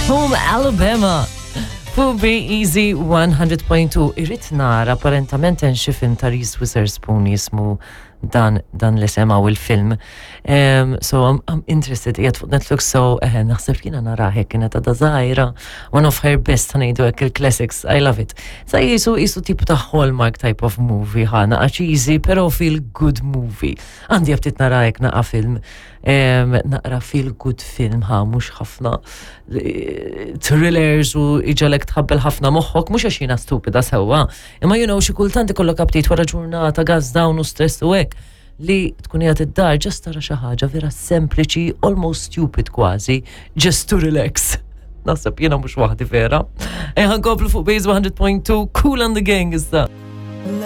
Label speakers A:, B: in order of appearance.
A: Home Alabama. Fuq Be Easy 100.2 irrid nara apparentament hemm xi film ta' Reese Witherspoon jismu dan dan li semaw il-film. Um, so I'm, I'm interested qiegħed fuq Netflix so eh, naħseb jiena nara hekk kienet għadha żgħira one of her best ngħidu hekk il-classics I love it. Sa jisu jisu tip ta' Hallmark type of movie ħana għax easy però feel good movie. Għandi ftit nara hekk naqa' film naqra feel good film ħa mhux ħafna eh, thrillers u iġalek tħabbel ħafna moħħok mhux għax jiena stupida sewwa Imma you know xi kultant ikollok aptit wara ġurnata gas down u stress u hekk li tkun qiegħed id-dar ġast tara xi ħaġa vera sempliċi, almost stupid kważi, just to relax. Naħseb jiena mhux waħdi vera. Ejja nkomplu fuq Base 100.2 Cool and the Gang issa.